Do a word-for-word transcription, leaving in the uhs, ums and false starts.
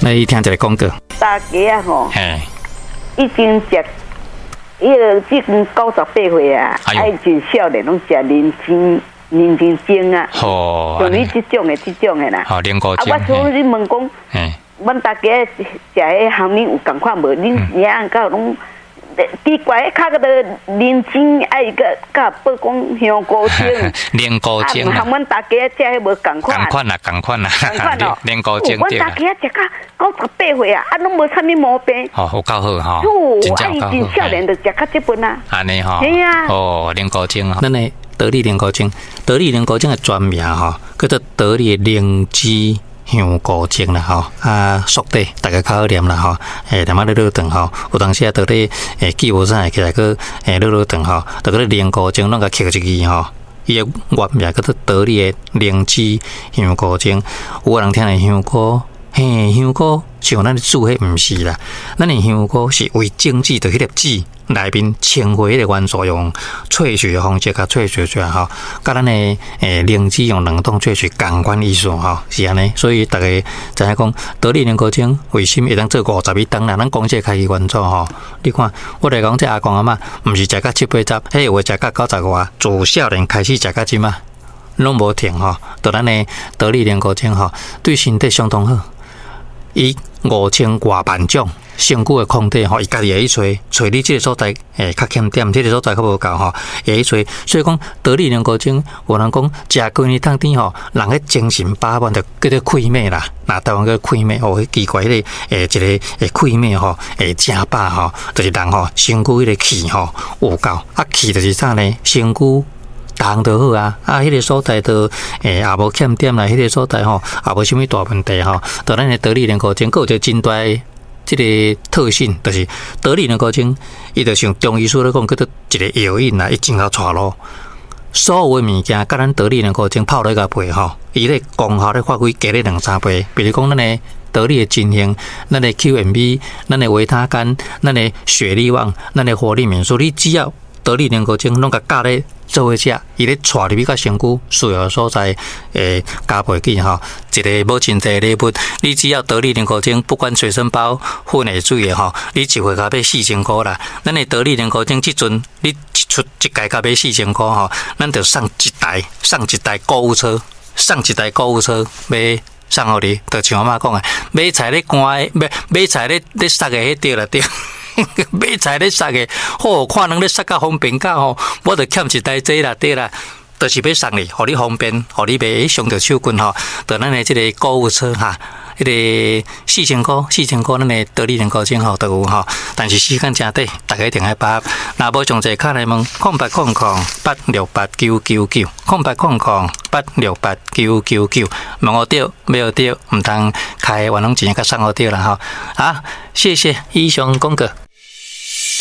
來聽一个廣告。大家吼，嘿，已經食，伊個這陣九十八歲啊，哎呦愛真少年攏食靈芝、靈芝精啊，好，像你這種的、這種的啦。好，靈菇啊，精我想你問講，嘿，阮大家食彼含恁有仝款無？恁營養到攏奇怪，彼較個靈芝愛個佮報講香菇精，靈菇精啊，含阮大家食彼無仝款。仝款啦，仝款啦，仝款哦，靈菇精阮對啦。大家食到九十八歲啊，啊，攏無啥物毛病。哦，有夠好吼，哦，真啊，正有夠好伊真少年就食較這份啊。按呢吼，嘿啊。哦，靈菇精吼，咱的得力靈菇精，得力靈菇精的全名吼，叫做得力靈芝香菇精啦吼，啊，速底大家較好念啦吼，欸，念仔咧落頓吼，有當時啊，佇咧欸記無啥會起來閣欸落落頓吼，就閣咧靈菇精攏共刻一字吼。伊的原名叫做得力的靈芝香菇精，有的人聽咧香菇，嘿，香菇像咱煮彼毋是啦，咱的香菇是為精製的彼粒籽內面氰化彼个元素，用萃取的方式共萃取出來吼，佮咱的欸靈芝用冷凍萃取仝款意思吼，是按呢，所以逐家知影講得力靈菇精為啥物會當做五十一冬啦？咱公司開始原創吼，你看我來講這阿公阿嬤，毋是食到七八十，彼有的食到九十外，自少年開始食到這馬，攏無停吼。就咱的得力靈菇精吼，對身體相當好。伊五千外萬種身軀的抗體吼，伊家己會去揣，揣你這个所在會較欠點，這个所在較無夠吼，會去揣。所以講得力靈菇精，有人講食幾年當甜吼，人彼精神飽滿，就叫做氣脈啦。若台灣叫氣脈哦，彼奇怪彼个欸一个欸氣脈吼，會誠飽吼，就是人吼身軀彼个氣吼有夠，啊氣就是啥呢？身軀動就好啊，啊，彼个所在就欸也無欠點啦，彼个所在吼也無啥物大問題吼。就咱的得力靈菇精，閣有一個真大的這个特性，就是得力靈菇精，伊就像中醫師咧講，叫做一个藥引啦，伊真𠢕帶路。所有的物件，佮咱得力靈菇精泡落共配吼，伊咧功效咧發揮加咧兩三倍。比如講，咱的得力的金星，咱的 Q M B，咱的維他乾，咱的雪利旺，咱的活力免數，你只要得力靈菇精攏共佮咧做伙食，伊咧帶入去到身軀需要的所在，會加倍去吼。一个母親節禮物，你只要得力靈菇精，不管隨身包、粉的、水的吼，你一回共買四千箍啦。咱的得力靈菇精，這陣你一出一蓋共買四千箍吼，咱就送一台，送一台購物車，送一台購物車買送予你，就像我媽講的，買菜咧乾的，買買菜咧咧殺的彼對啦對。買菜咧殺的，好看人咧殺較方便甲吼，我就欠一台這啦對啦，就是欲送你，予你方便，予你袂傷著手骨吼。就咱的這个購物車哈，彼个四千箍，四千箍，咱的得力靈菇精吼都有吼，但是時間誠短，大家一定愛把握。若無詳細敲來問，空八空空八六八九九九，空八空空八六八九九九，問予著，買予著，毋通開冤枉錢，共送予著啦吼。好，謝謝以上廣告。